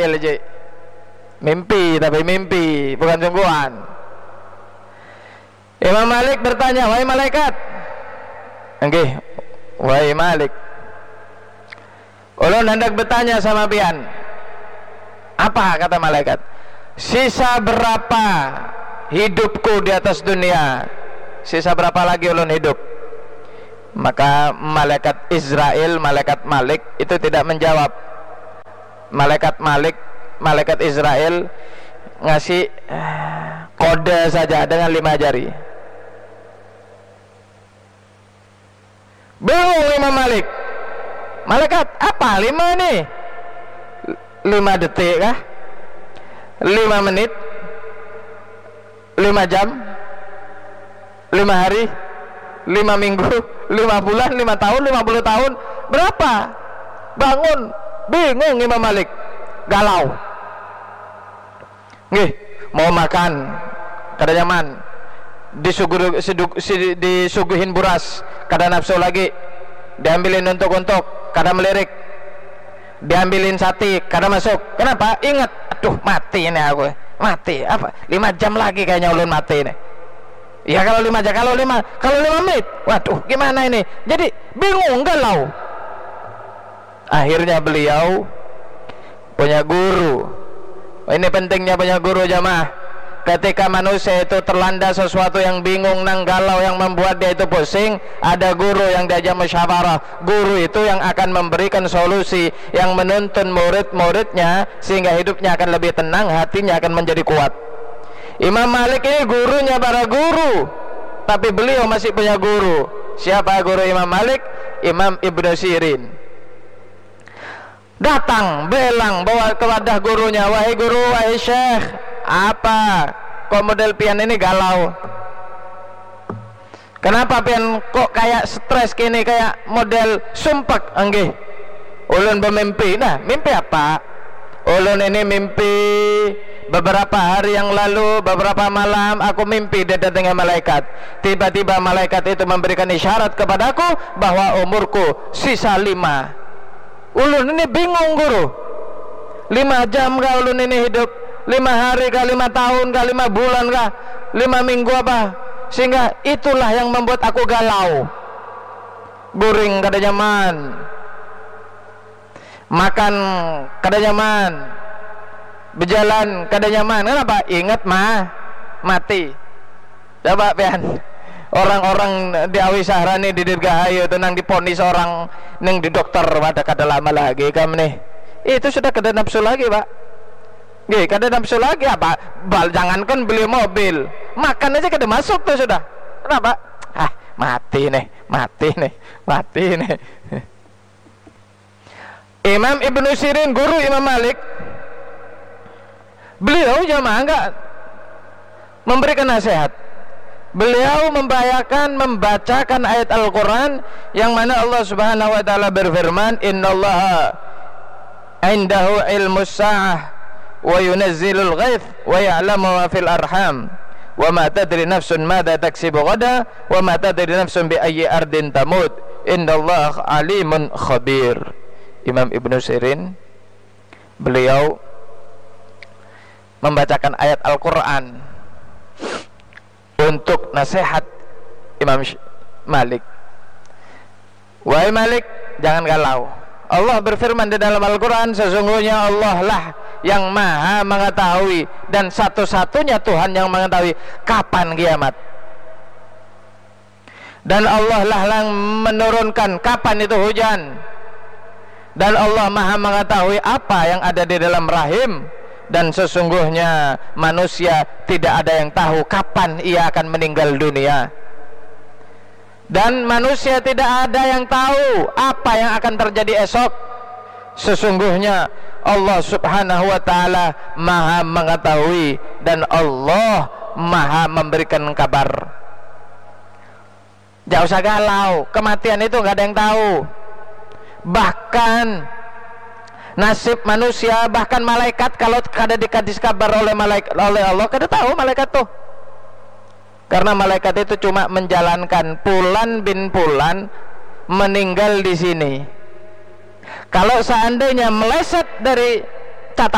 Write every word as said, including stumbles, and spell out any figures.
Israel ji. Mimpi, tapi mimpi, bukan sungguhan. Imam Malik bertanya, "Wahai malaikat." Nggih, "Wahai Malik, ulun hendak bertanya sama pian." "Apa?" kata malaikat. "Sisa berapa hidupku di atas dunia? Sisa berapa lagi ulun hidup?" Maka malaikat Israel, malaikat Malik itu tidak menjawab. Malaikat Malik, malaikat Israel ngasih, eh, kode saja dengan lima jari. Bingung Imam Malik. "Malaikat, apa lima ni? Lima detik kah? Lima menit? Lima jam? Lima hari? Lima minggu? Lima bulan? Lima tahun? Lima puluh tahun? Berapa?" Bangun. Bingung Imam Malik. Galau. Nggih, mau makan, kada nyaman. Disuguh, siduk-, si-, disuguhin buras, kada nafsu lagi. Diambilin untuk-untuk, kada melirik. Diambilin sati, kada masuk. Kenapa? Ingat, "Aduh, mati ini aku. Mati. Apa? Lima jam lagi kayaknya ulun mati ini." Ya, kalau lima jam, kalau lima, kalau lima menit, waduh, gimana ini? Jadi bingung, galau. Akhirnya beliau punya guru. Ini pentingnya punya guru, jamaah. Ketika manusia itu terlanda sesuatu yang bingung, nang galau, yang membuat dia itu pusing, ada guru yang diajak musyawarah. Guru itu yang akan memberikan solusi, yang menuntun murid-muridnya, sehingga hidupnya akan lebih tenang, hatinya akan menjadi kuat. Imam Malik ini gurunya para guru, tapi beliau masih punya guru. Siapa guru Imam Malik? Imam Ibnu Sirin. Datang, belang, bawa ke wadah gurunya, "Wahai guru, wahai syekh, apa kok model pian ini galau? Kenapa pian kok kayak stres kini, kayak model sumpek?" "Enggih, ulun bemimpi." "Nah, mimpi apa?" "Ulun ini mimpi beberapa hari yang lalu, beberapa malam aku mimpi didatangi malaikat. Tiba-tiba malaikat itu memberikan isyarat kepadaku bahwa umurku sisa lima." "Ulun ini bingung, guru. Lima jam kah ulun ini hidup? Lima hari kah, lima tahun kah, lima bulan kah, lima minggu apa? Sehingga itulah yang membuat aku galau. Guring kada nyaman. Makan kada nyaman. Bejalan kada nyaman." Kenapa? Ingat mah, mati. Coba pian, orang-orang di Awi Sahrani, di Dirgahayu tu, nang diponis orang nang di dokter, wadah, kada lama lagi kam nih. Itu sudah kada nafsu lagi, Pak. Nggih, kada nafsu lagi apa? Bal, jangankan beli mobil, makan aja kada masuk tuh sudah. Kenapa? "Ah, mati nih, mati nih, mati nih." Imam Ibnu Sirin, guru Imam Malik, beliau, jamaah, enggak memberikan nasihat. Beliau membahayakan membacakan ayat Al-Quran yang mana Allah Subhanahu wa Ta'ala berfirman, "Innallaha indahu ilmus sa'ah wa yunazzilul ghaith wa ya'lamu ma fil arham wa ma tadri nafsun madza taksibu ghada wa ma tadri nafsun bi ayyi ardin tamut. Innallaha alimun khabir." Imam Ibnu Sirin, beliau membacakan ayat Al-Quran untuk nasihat Imam Sh-, Malik. "Wahai Malik, jangan galau. Allah berfirman di dalam Al-Quran, sesungguhnya Allah lah yang maha mengetahui dan satu-satunya Tuhan yang mengetahui kapan kiamat. Dan Allah lah yang menurunkan kapan itu hujan. Dan Allah maha mengetahui apa yang ada di dalam rahim. Dan sesungguhnya manusia tidak ada yang tahu kapan ia akan meninggal dunia. Dan manusia tidak ada yang tahu apa yang akan terjadi esok. Sesungguhnya Allah Subhanahu wa Ta'ala maha mengetahui dan Allah maha memberikan kabar." Nggak usah galau, kematian itu nggak ada yang tahu. Bahkan nasib manusia, bahkan malaikat, kalau kada dikasih kabar oleh malaik-, oleh Allah, kada tahu malaikat tuh. Karena malaikat itu cuma menjalankan, Pulan bin Pulan meninggal di sini. Kalau seandainya meleset dari catatan,